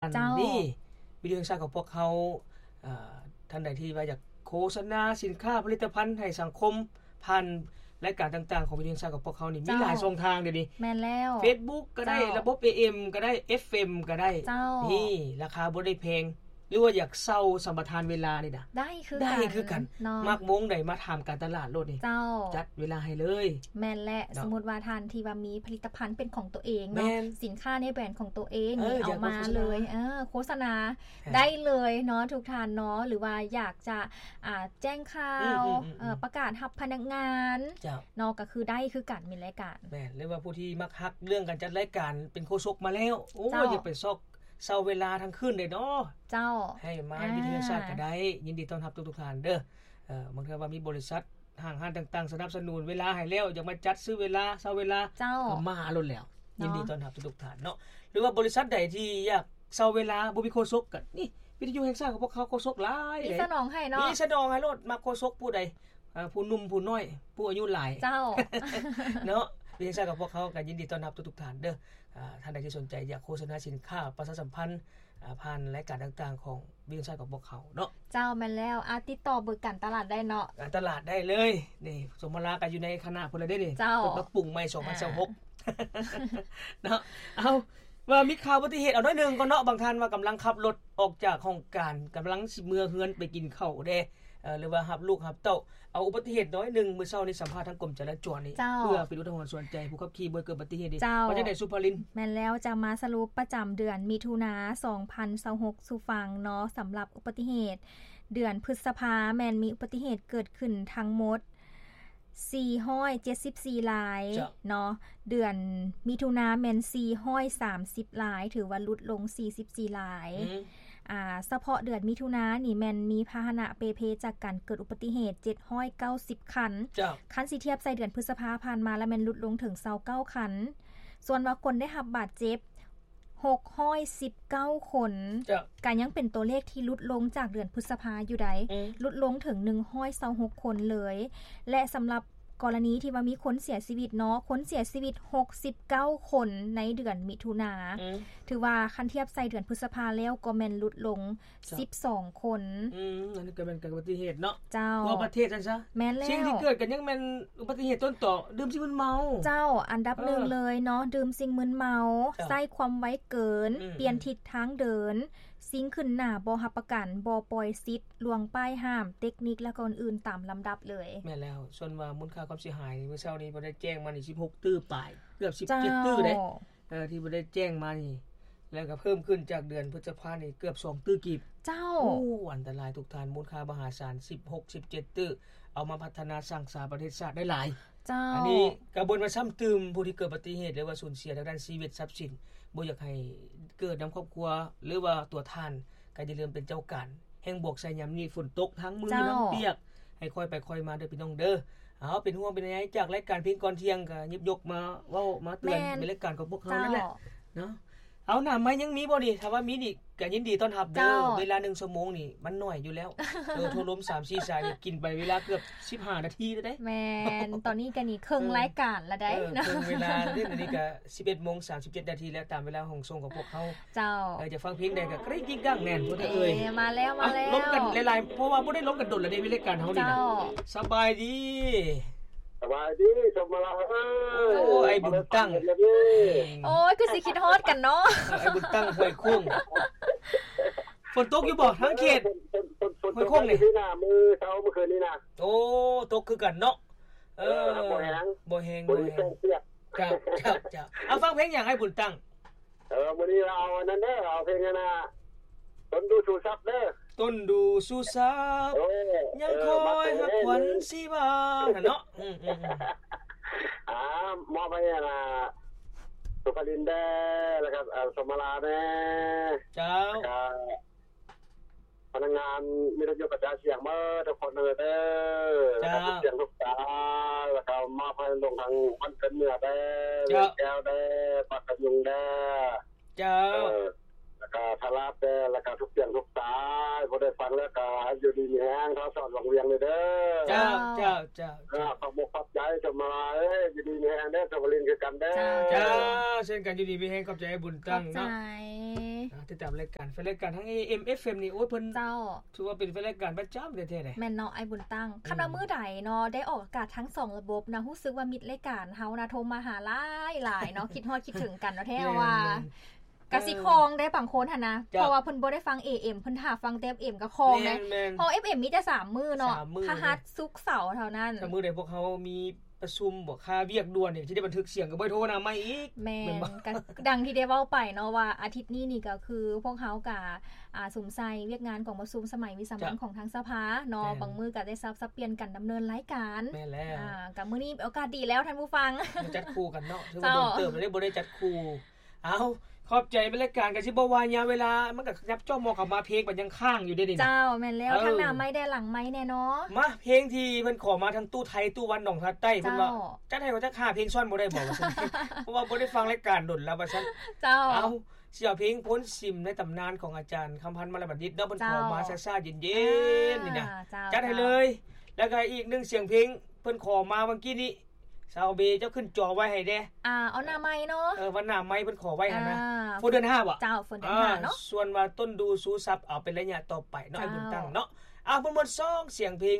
ເຈົ້າ ນີ້ ວິທະຍຸແຫ່ງຊາດຂອງພວກເຮົາ ເອີ ທ່ານໃດທີ່ວ່າຢາກໂຄສະນາສິນຄ້າຜະລິດຕະພັນໃຫ້ສັງຄົມ ຜ່ານລາຍການຕ່າງໆຂອງວິທະຍຸແຫ່ງຊາດຂອງພວກເຮົານີ້ ມີ ເຈົ້າ ຫຼາຍຊ່ອງທາງດຽວນີ້ ແມ່ນແລ້ວ ເຟສບຸກກໍໄດ້ ເຈົ້າ ລະບົບເອເອັມກໍໄດ້ ເອັຟເອັມກໍໄດ້ ເຈົ້າ ນີ້ລາຄາບໍ່ໄດ້ແພງ ຫຼືວ່າຢາກເຊົ່າສຳປະທານເວລານີ້ນະ ໄດ້ຄື ໄດ້ຄືກັນ ເນາະ ມັກວົງໃດມາຖາມການຕະຫຼາດໂລດນີ້ ເຈົ້າ ຈັດເວລາໃຫ້ເລີຍ ແມ່ນແຫຼະ ເນາະ ສົມມຸດວ່າທ່ານທີ່ວ່າມີຜະລິດຕະພັນເປັນຂອງຕົວເອງເນາະ ແມ່ນ ສິນຄ້າໃນແບຣນຂອງຕົວເອງ ເອີ ນີ້ ເອົາມາເລີຍ ເອີ ໂຄສະນາ ອ່າ ໄດ້ເລີຍເນາະ ທຸກທ່ານເນາະ ຫຼືວ່າຢາກຈະ ອ່າ ແຈ້ງຂ່າວ ອືມໆໆໆ ເອີ ປະກາດຮັບພະນັກງານ ເຈົ້າ ເນາະ ກໍຄືໄດ້ຄືກັນ ມີລາຍການ ແມ່ນ ຫຼືວ່າຜູ້ທີ່ມັກຮັກເລື່ອງການຈັດລາຍການ ເປັນໂຄສົກມາແລ້ວ ໂອ້ຍ ເຈົ້າ ຢາກໄປຊອກເຊົ່າເວລາທັງຄືນເດ້ເນາະ ເຈົ້າ ໃຫ້ມາ ອ່າ ວິທະຍຸແຫ່ງຊາດກໍໄດ້ ຍິນດີຕ້ອນຮັບທຸກໆທ່ານເດີ ເອີ ບາງເທື່ອວ່າມີບໍລິສັດ ຫ້າງຮ້ານຕ່າງໆ ສະໜັບສະໜູນເວລາໃຫ້ແລ້ວ ຢາກມາຈັດຊື້ເວລາ ເຊົ່າເວລາ ເຈົ້າ ກໍມາໂລດແລ້ວ ເນາະ ຍິນດີຕ້ອນຮັບທຸກໆທ່ານເນາະ ຫຼືວ່າບໍລິສັດໃດທີ່ຢາກເຊົ່າເວລາ ບໍ່ມີໂຄສົກ ກໍນີ້ ວິທະຍຸແຫ່ງຊາດຂອງພວກເຮົາໂຄສົກຫຼາຍ ມີສະໜອງໃຫ້ເນາະ ມີສະໜອງໃຫ້ໂລດ ມັກໂຄສົກຜູ້ໃດ ເອີ ຜູ້ໜຸ່ມຜູ້ນ້ອຍ ຜູ້ອາຍຸຫຼາຍ ເຈົ້າ ເນາະ ວິທະຍຸແຫ່ງຊາດຂອງພວກເຮົາກໍຍິນດີຕ້ອນຮັບທຸກໆທ່ານເດີ ອ່າ ທ່ານໃດທີ່ສົນໃຈຢາກໂຄສະນາສິນຄ້າ ປະຊາສຳພັນ ອ່າ ຜ່ານລາຍການຕ່າງໆຂອງວິທະຍຸແຫ່ງຊາດຂອງພວກເຮົາເນາະ ເຈົ້າ ແມ່ນແລ້ວ ອາ ຕິດຕໍ່ເບີການຕະຫຼາດໄດ້ເນາະ ການຕະຫຼາດໄດ້ເລີຍ ນີ້ ສົມມາລາກໍຢູ່ໃນຄະນະພຸ້ນລະເດ້ນີ້ ເຈົ້າ ເພິ່ນປັບປຸງໃໝ່ ສອງພັນຊາວຫົກ ອ່າ ເນາະ ເອົາ ວ່າມີຂ່າວອຸບັດຕິເຫດ ເອົາໜ້ອຍໜຶ່ງກ່ອນເນາະ ບາງທ່ານວ່າກຳລັງຂັບລົດອອກຈາກຫ້ອງການ ກຳລັງຊິເມືອເຮືອນໄປກິນເຂົ້າເດ້ ເອີ ຫຼືວ່າຮັບລູກຮັບເຕົ້າ ເອົາອຸບັດຕິເຫດໜ້ອຍໜຶ່ງ ມື້ເຊົ້ານີ້ສຳພາດທາງກົມຈະລາຈອນນີ້ ເຈົ້າ ເພື່ອເປັນອຸທາຫອນສອນໃຈຜູ້ຂັບຂີ່ບໍ່ໃຫ້ເກີດອຸບັດຕິເຫດນີ້ ເຈົ້າ ວ່າຈັ່ງໃດສຸພາລິນ? ແມ່ນແລ້ວ ຈະມາສະຫຼຸບປະຈຳເດືອນມິຖຸນາ ສອງພັນຊາວຫົກສູ່ຟັງເນາະ ສຳລັບອຸບັດຕິເຫດເດືອນພຶດສະພາ ແມ່ນມີອຸບັດຕິເຫດເກີດຂຶ້ນທັງໝົດ ສີ່ຮ້ອຍເຈັດສິບສີ່ລາຍ ເຈົ້າ ເນາະ ເດືອນມິຖຸນາແມ່ນ ສີ່ຮ້ອຍສາມສິບລາຍ ຖືວ່າຫຼຸດລົງ ສີ່ສິບສີ່ລາຍ ອືມ ອ່າ ສະເພາະເດືອນມິຖຸນານີ້ແມ່ນມີພາຫະນະເປ່ເພຈາກການເກີດອຸບັດຕິເຫດ ເຈັດຮ້ອຍເກົ້າສິບຄັນ ເຈົ້າ ຄັນຊິທຽບໃສ່ເດືອນພຶດສະພາຜ່ານມາລະແມ່ນຫຼຸດລົງເຖິງ ຊາວເກົ້າຄັນ ສ່ວນວ່າຄົນໄດ້ຮັບບາດເຈັບ ຫົກຮ້ອຍສິບເກົ້າຄົນ ເຈົ້າ ກະຍັງເປັນຕົວເລກທີ່ຫຼຸດລົງຈາກເດືອນພຶດສະພາຢູ່ໃດ ອືມ ຫຼຸດລົງເຖິງ ໜຶ່ງຮ້ອຍຊາວຫົກຄົນເລີຍ ແລະ ສຳລັບກໍລະນີທີ່ວ່າມີຄົນເສຍຊີວິດເນາະ ຄົນເສຍຊີວິດ ຫົກສິບເກົ້າຄົນໃນເດືອນມິຖຸນາ ອືມ ຖືວ່າຄັນທຽບໃສ່ເດືອນພຶດສະພາແລ້ວກໍແມ່ນຫຼຸດລົງ ເຈົ້າ ສິບສອງຄົນ ອືມ ອັນນີ້ກໍແມ່ນການອຸບັດຕິເຫດເນາະ ເຈົ້າ ທົ່ວປະເທດຊັ້ນຊະ ແມ່ນແລ້ວ ສິ່ງທີ່ເກີດກັນຍັງແມ່ນອຸບັດຕິເຫດຕົ້ນຕໍ ດື່ມສິ່ງມຶນເມົາ ເຈົ້າ ອັນດັບໜຶ່ງເລີຍເນາະ ເອີ ດື່ມສິ່ງມຶນເມົາ ເຈົ້າ ໃຊ້ຄວາມໄວເກີນ ອືມ ປ່ຽນທິດທາງເດີນ ຊິງຂຶ້ນໜ້າບໍ່ຮັບປະກັນ ບໍ່ປ່ອຍສິດ ລ່ວງປ້າຍຫ້າມ ເຕັກນິກ ແລະ ກໍອື່ນໆຕາມລຳດັບເລີຍ ແມ່ນແລ້ວ ສ່ວນວ່າມູນຄ່າຄວາມເສຍຫາຍ ມື້ເຊົ້ານີ້ບໍ່ໄດ້ແຈ້ງມານີ້ ສິບຫົກຕື້ປາຍ ເກືອບສິບເຈັດ ເຈົ້າ ຕື້ເດ້ ເອີ ທີ່ບໍ່ໄດ້ແຈ້ງມານີ້ ແລ້ວກໍເພີ່ມຂຶ້ນຈາກເດືອນພຶດສະພານີ້ເກືອບສອງຕື້ກີບ ເຈົ້າ ໂອ້ ອັນຕະລາຍທຸກທ່ານ ມູນຄ່າມະຫາສານ ສິບຫົກ ສິບເຈັດ ຕື້ ເອົາມາພັດທະນາສ້າງສາປະເທດຊາດໄດ້ຫຼາຍ ເຈົ້າ ອັນນີ້ກໍບໍ່ນວ່າຊ້ຳຕື່ມຜູ້ທີ່ເກີດອຸບັດຕິເຫດ ຫຼືວ່າສູນເສຍທາງດ້ານຊີວິດຊັບສິນ ບໍ່ຢາກໃຫ້ເກີດນຳຄອບຄົວ ຫຼືວ່າຕົວທ່ານ ກໍຢ່າລືມເປັນເຈົ້າການ ແຮ່ງບວກໃສ່ຍາມນີ້ຝົນຕົກ ທັງມື ເຈົ້າ ທັງປຽກ ໃຫ້ຄ່ອຍໄປຄ່ອຍມາເດີພີ່ນ້ອງເດີ ເອົາ ເປັນຫ່ວງເປັນໃຍຈາກລາຍການເພງກ່ອນທ່ຽງ ກໍຍິບຍົກມາເວົ້າມາເຕືອນ ແມ່ນ ໃນລາຍການຂອງພວກເຮົານັ້ນແຫຼະ ເຈົ້າ ເນາະ ເອົາ ໜ້າໄມ້ຍັງມີບໍ່ນີ້ ຖ້າວ່າມີນີ້ກໍຍິນດີຕ້ອນຮັບເດີ ເຈົ້າ ເວລາໜຶ່ງຊົ່ວໂມງນີ້ມັນໜ້ອຍຢູ່ແລ້ວ ເອີ ໂທລົມສາມສີ່ສາຍນີ້ກິນໄປເວລາເກືອບສິບຫ້ານາທີແລ້ວເດ້ ແມ່ນ ຕອນນີ້ກໍນີ້ເຄິ່ງ ເອີ ລາຍການລະໄດ ເອີ ເຄິ່ງເວລາເດ້ ດຽວນີ້ກໍສິບເອັດໂມງສາມສິບເຈັດນາທີແລ້ວ ຕາມເວລາຫ້ອງສົ່ງຂອງພວກເຮົາ ເຈົ້າ ເອີ ຢາກຟັງເພງໃດກໍກະຣິ້ງກິ້ງກັ້ງແນ່ນ ເອີ ມາແລ້ວ ມາແລ້ວ ລົມກັນຫຼາຍໆ ເພາະວ່າບໍ່ໄດ້ລົມກັນດົນລະເດ້ ລາຍການເຮົານີ້ນະ ເຈົ້າ ສະບາຍດີ ສະບາຍດີ ສົມມາລາເອີຍ ໂອ້ຍ ອ້າຍບຸນຕັ້ງ ໂອ້ຍ ຄືຊິຄິດຮອດກັນເນາະ ເອີ ອ້າຍບຸນຕັ້ງ ຫ້ວຍໂຄ້ງ ຝົນຕົກຢູ່ບໍ່ທາງເຂດ ຝົນ ຝົນ ຝົນ ຝົນຕົກຢູ່ນີ້ນະ ມື້ເຊົ້າມື້ຄືນນີ້ນະ ໂອ້ ຕົກຄືກັນເນາະ ເອີ ບໍ່ແຮງ ບໍ່ແຮງ ບໍ່ແຮງ ເຈົ້າ ເຈົ້າ ເຈົ້າ ເອົາ ຟັງເພງຫຍັງອ້າຍບຸນຕັ້ງ? ເອີ ມື້ນີ້ເອົາອັນນັ້ນເດີ ເອົາເພງອັນນ່າ ຕົ້ນດູສູ່ສັບເດີ ຕົ້ນດູສູ່ສັບ ເອີ ຍັງຄອຍຮັກຂວັນຊີວາ ນັ້ນເນາະ ອືມໆໆ ອ່າ ມອບໃຫ້ອັນນ່າ ສຸພາລິນເດີ ແລ້ວກໍ ເອີ ສົມມາລາແດ່ ເຈົ້າ ແລ້ວກໍ ພະນັກງານວິທະຍຸກະຈາຍສຽງເບິດທຸກຄົນເດີ ເຈົ້າ ແລ້ວກໍທຸກສຽງທຸກສາຍ ແລ້ວກໍມອບໃຫ້ລົງທາງບ້ານເກີດເມືອງເດີ ເຈົ້າ ວຽງແກ້ວເດີ ປາກກະຍຸງເດີ ເຈົ້າ ເອີ ແລ້ວ ກໍຖ້າລາແຕ່ ແລ້ວກໍທຸກສຽງທຸກສາຍ ຜູ້ໃດຟັງແລ້ວກໍໃຫ້ຢູ່ດີມີແຮງ ທ້າວສອນວັງວຽງເດີ. ເຈົ້າ ເຈົ້າ ເຈົ້າ ເຈົ້າ ຂອບອົກຂອບໃຈ ຊົມມາລາຍ ຢູ່ດີມີແຮງເດີ ຊົມມາລິນຄືກັນເດີ. ເຈົ້າ ເຊັ່ນກັນ ຢູ່ດີມີແຮງ ຂອບໃຈອ້າຍບຸນຕັ້ງເນາະ. ຕິດຕາມລາຍການ ແຟນລາຍການທາງ ເອເອັມ ເອັຟເອັມ ນີ້ ໂອ້ຍ ເພິ່ນ ເຈົ້າ ຖືວ່າເປັນແຟນລາຍການປະຈຳແທ້ໆເດ້. ແມ່ນເນາະ ອ້າຍບຸນຕັ້ງ. ຄັນວ່າມື້ໃດເນາະ ໄດ້ອອກອາກາດທັງສອງລະບົບນະ ຮູ້ສຶກວ່າມິດລາຍການເຮົານະ ໂທມາຫາຫຼາຍໆເນາະ ຄິດຮອດຄິດເຖິງກັນເນາະ ແທ້ວ່າ ກະຊິຄອງໄດ້ບາງຄົນຫັ້ນນະ ເພາະວ່າເພິ່ນບໍ່ໄດ້ຟັງ ເອເອັມ ເພິ່ນຖ້າຟັງແຕ່ ເອັຟເອັມ ກໍຄອງໄດ້ ເພາະ ເອຟເອັມ ມີແຕ່ສາມມື້ເນາະ ພະຫັດ ສຸກ ເສົາເທົ່ານັ້ນ. ມື້ໃດພວກເຮົາມີປະຊຸມບໍ ຄາວຽກດ່ວນນີ້ ຊິໄດ້ບັນທຶກສຽງ ກໍບໍ່ໄດ້ໂທຫາໃໝ່ອີກ. ແມ່ນ ກໍດັ່ງທີ່ໄດ້ເວົ້າໄປເນາະວ່າ ອາທິດນີ້ນີ້ກໍຄືພວກເຮົາກະ ອາ ສຸມໃສ່ວຽກງານກອງປະຊຸມສະໄໝວິສາມັນຂອງທາງສະພາເນາະ ບາງມື້ກໍໄດ້ສັບສັບປ່ຽນກັນດຳເນີນລາຍການ. ແມ່ນແລ້ວ ອາ ກໍມື້ນີ້ໂອກາດດີແລ້ວທ່ານຜູ້ຟັງ ມາຈັດຄູ່ກັນເນາະ ຖືວ່າດົນເຕີບແລ້ວເດ້ບໍ່ໄດ້ຈັດຄູ່. ເອົາ ຂອບໃຈ ລາຍການກໍຊິບໍ່ວ່າຍາວເວລາ ມັນກໍຍັບຈ້ອມມອກເຂົ້າມາ ເພງມັນຍັງຄ້າງຢູ່ເດ້ນີ້. ເຈົ້າ ແມ່ນແລ້ວ ທັງໜ້າໄມ້ແດ່ຫຼັງໄມ້ແດ່ເນາະ. ມາ ເພງທີ່ເພິ່ນຂໍມາ ທັງຕູ້ໄທ ຕູ້ວັນ ໜອງທາໃຕ້ ເພິ່ນວ່າ ຈັດໃຫ້ເຂົາຈັກຫ້າເພງຊ້ອນບໍ່ໄດ້ບໍ່ ວ່າຊັ້ນ ເພາະວ່າບໍ່ໄດ້ຟັງລາຍການດົນແລ້ວວ່າຊັ້ນ. ເຈົ້າ ເອົາ ຊິເອົາເພງໂພນຊິມ ໃນຕຳນານຂອງອາຈານຄຳພັນ ມາລະບັນດິດເນາະ ເພິ່ນຂໍມາຊ້າໆເຢັນໆນີ້ນະ. ຈັດໃຫ້ເລີຍ. ແລ້ວກໍອີກໜຶ່ງສຽງເພງ ເພິ່ນຂໍມາເມື່ອກີ້ນີ້ ຊາວເບ ເຈົ້າຂຶ້ນຈໍໄວ້ໃຫ້ແດ່. ອາ ເອົາໜ້າໄມ້ເນາະ ເອີ ວັນໜ້າໄມ້ເພິ່ນຂໍໄວ້ຫັ້ນນະ. ຝົນເດືອນຫ້າບໍ? ເຈົ້າ ຝົນເດືອນຫ້າເນາະ. ສ່ວນວ່າຕົ້ນດູຊູຊັບ ເອົາເປັນໄລຍະຕໍ່ໄປເນາະ ອ້າຍບຸນຕັ້ງເນາະ. ເອົາ ມ່ວນໆ ສອງສຽງເພງ.